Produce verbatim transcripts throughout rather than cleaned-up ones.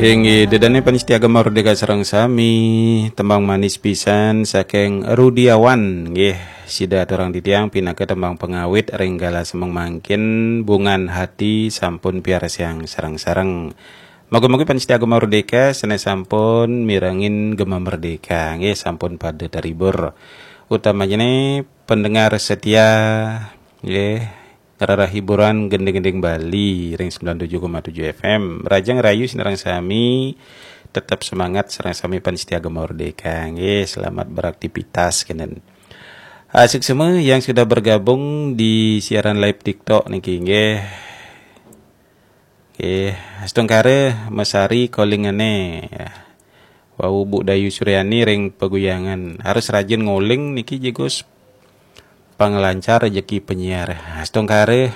Inggih, dedane panitia Gema Merdeka sareng sami, tembang manis pisan saking Rudiawan, nggih, sida aturang titiang pinaka tembang pangawit ring galah semeng mangkin, Bungan Hati sampun piarsayang sareng-sareng. Mugi-mugi panitia Gema Merdeka sane sampun mirengin Gema Merdeka, nggih, sampun pada terhibur. Utamanya pendengar setia, nggih, ngrereh hiburan gending-gending Bali ring sembilan tujuh koma tujuh F M. Rahajeng rahayu sinareng sami, tetap semangat sareng sami panitia Gema Merdeka. Nggih, selamat beraktivitas kenten. Asik semua yang sudah bergabung di siaran live TikTok niki, nggih. Nggih, astungkara masari calling-ane. Wau Bu Dayu Suryani ring Paguyangan. Harus rajin ngoling niki, jigos panglancar rejeki penyiar. Astungkara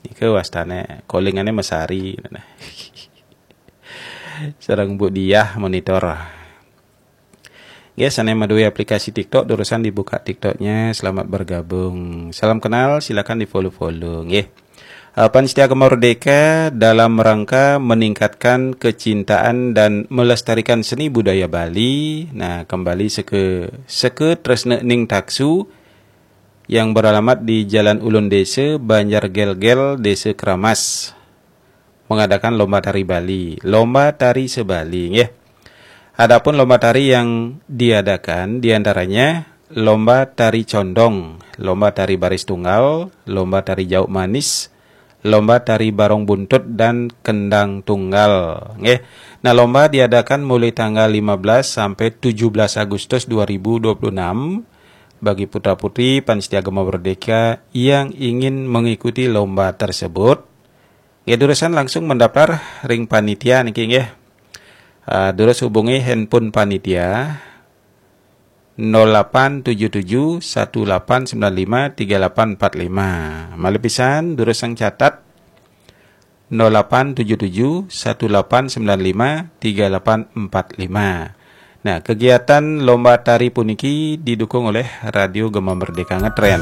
nika wastane calling-ane masari. Sareng Bu Diah monitor. Nggih, sane madue aplikasi TikTok, durusang dibuka TikToknya. Selamat bergabung. Salam kenal, silakan di-follow-follow, nggih. Eh, Pan Setia Gema Merdeka dalam rangka meningkatkan kecintaan dan melestarikan seni budaya Bali. Nah, kembali seke, seke Tresna Ning Taksu yang beralamat di Jalan Ulun Desa, Banjar Gelgel, Desa Keramas, mengadakan lomba tari Bali. Lomba tari se-Bali, nggih. Adapun lomba tari yang diadakan diantaranya lomba tari condong, lomba tari baris tunggal, lomba tari jauk manis, lomba tari barong buntut dan kendang tunggal, nggih. Nah, lomba diadakan mulai tanggal lima belas sampai tujuh belas Agustus dua ribu dua puluh enam. Bagi putra-putri Pan Setia Gema Merdeka yang ingin mengikuti lomba tersebut, nggih, durusang langsung mendaftar ring panitia niki, nggih. Ah, durus hubungi handphone panitia nol delapan tujuh tujuh satu delapan sembilan lima tiga delapan empat lima. Malih pisan, durusang catat nol delapan tujuh tujuh satu delapan sembilan lima tiga delapan empat lima. Nah, kegiatan lomba tari puniki didukung oleh Radio Gema Merdeka Ngetren.